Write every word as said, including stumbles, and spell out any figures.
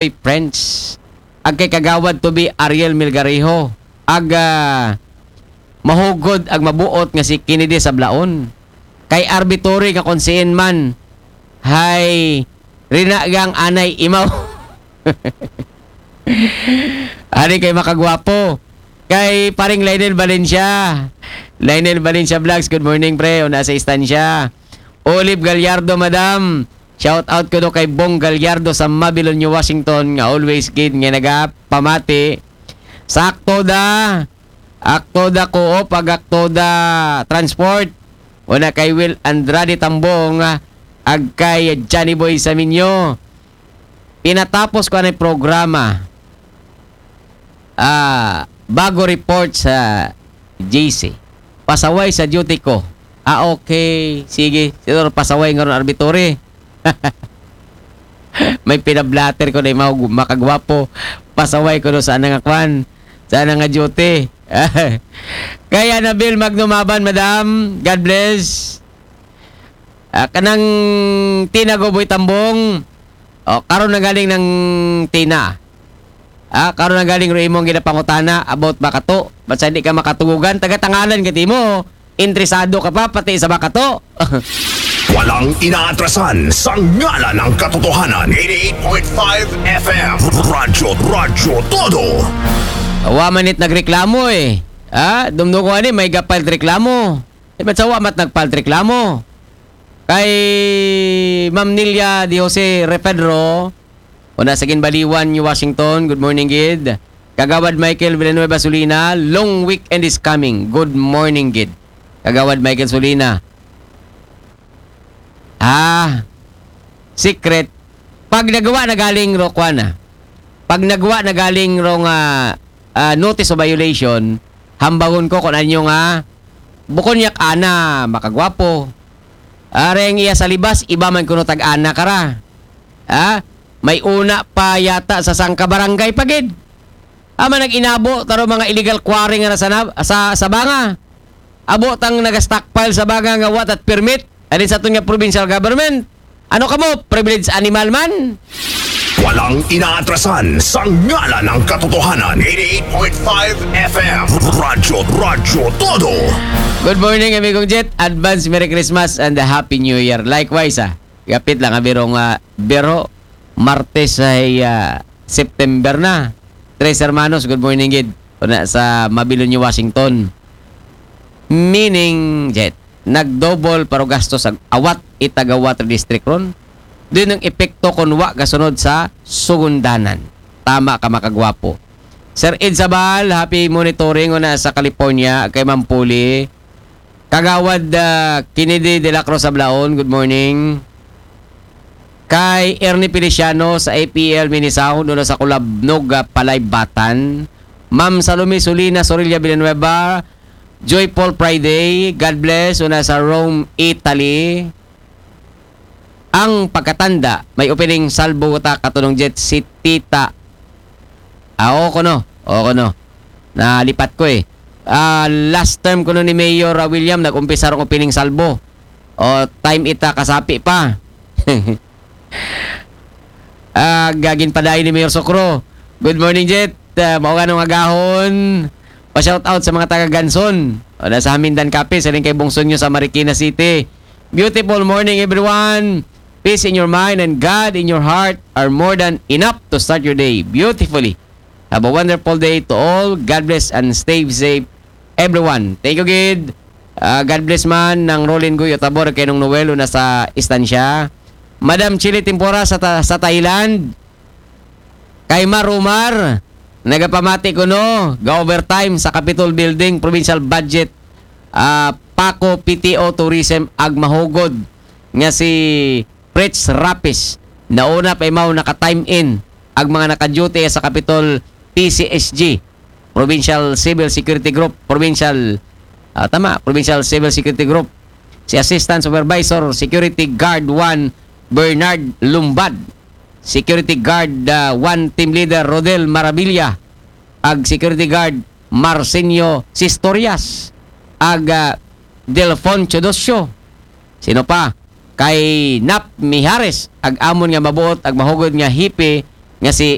Prince. Ag kay Kagawad Tubi Ariel Milgarejo. Ag, ah, mahugod ag mabuot nga si Kennedy Sablaon. Kay Arbitori nga kung siin man, hay rinagang anay imaw. Ari kay makagwapo. Kay paring Lionel Valencia. Lionel Valencia Vlogs, good morning, pre. Una sa istansya. Olive Gallardo, madam. Shout out ko do kay Bong Gallardo sa Mabilonyo, Washington, nga always gid nga nagapamati. Sakto da. Akto da ko pag akto da transport. Una kay Will Andrade Tambong, ah, ag kay Johnny Boy Saminyo. Pinatapos ko ang programa. Ah, bago report sa J C. Pasaway sa duty ko. Ah, okay. Sige. Siguro pasaway nga ron, Arbitori. May pinablatter ko na yung mga gu-, makagwapo. Pasaway ko no sa nga kwan. Sa nga duty. Kaya Nabil Magnumaban, madam. God bless. Ah, kanang Tina Goboy Tambong. O, karon na galing ng Tina. Ah, karon na galing ro imong ginapangutana about Bakato. Ba't sa hindi ka makatugugan? Taga-Tangalan ka, Timo. Interesado ka pa, pati sa Bakato. Walang inaatrasan sa ngalan ng katotohanan. eighty-eight point five F M. Radyo, Radyo Todo. Wa man it nagreklamo eh. Ah, dumdugo ani, may gapal reklamo. Di ba sa wa mat nagpal reklamo? Kay Ma'am Nilia Di Jose Refedro, una sa Ginbaliwan, New Washington, good morning, gid. Kagawad Michael Villanueva Solina, long weekend is coming. Good morning, gid. Kagawad Michael Solina. Ah, secret. Pag nagawa na galing ro, kwan na. Pag nagawa na galing ro nga, ah, notice of violation, hambagon ko kung ano nga, bukon yak ana, makagwapo. Areng iya sa libas, iba man kuno tag-ana kara. Ha? May una pa yata sa sangka barangay pagid. Ama nag-inabo, taro mga illegal quarry nga nasa, sa, sa banga. Abo tang nag-stockpile sa banga nga wa tat permit. Alin sa aton nga provincial government? Ano kamo? Privileged animal man? Walang inaatrasan sa ngalan ng katotohanan. eighty-eight point five F M. Radyo, Radyo Todo. Good morning, amigong Jet. Advance Merry Christmas and a Happy New Year. Likewise, ah. Gapit lang, abirong, ah, biro. Martes ay, ah, September na. Tres Hermanos, good morning, gid. Una sa Mabilonyo, Washington. Meaning, Jet, nag-double paro gasto sa awat itaga water district ron. Din ang epekto kung wa kasunod sa sugundanan. Tama ka, makagwapo. Sir Ed Sabal, happy monitoring una sa California kay Mampuli. Kagawad, ah, Kennedy de la Cruz Sablaon, good morning. Kay Ernie Feliciano sa A P L Minisound, una sa Kulabnog, ah, Palaybatan. Ma'am Salome Solina Sorilla Villanueva, Joyful Friday, God bless, una sa Rome, Italy. Ang pagkatanda, may opening salvo ta, Katunong Jet, si Tita. Ah, oo, kuno. Oo, kuno. Nalipat ko eh. Ah, last term kuno ni Mayor, ah, William, nag-umpisa rong opening salvo. O, time ita kasapi pa. Ah, gagin padayon ni Mayor Sokro. Good morning, Jet. Ah, mao nga nung agahon. Pa-shout out sa mga taga Ganson. O, nasa Hamindan Capiz, sa kay Bungso nyo sa Marikina City. Beautiful morning, everyone. Peace in your mind and God in your heart are more than enough to start your day beautifully. Have a wonderful day to all. God bless and stay safe, everyone. Thank you, gid. Ah, God bless man ng Rolin Guyo Tabor kay nung Noel una sa istansya. Madam Chili Tempora sa, ta- sa Thailand. Kay Mar Umar, nagapamati ko no, ga-overtime sa Capitol Building, provincial budget, ah, Paco P T O Tourism, ag mahugod nga si Fritz Rapis. Nauna pa imaw naka-time in ag mga naka-duty sa Capitol P C S G, Provincial Civil Security Group, Provincial, ah, tama, Provincial Civil Security Group. Si Assistant Supervisor Security Guard one Bernard Lumbad, Security Guard, ah, one Team Leader Rodel Maravilla, ag Security Guard Marsenio Sistorias, ag, ah, Delfon Chodosio. Sino pa? Kay Nap Mijares, ag amon nga mabuot, ag mahugod nga hipi, Nga si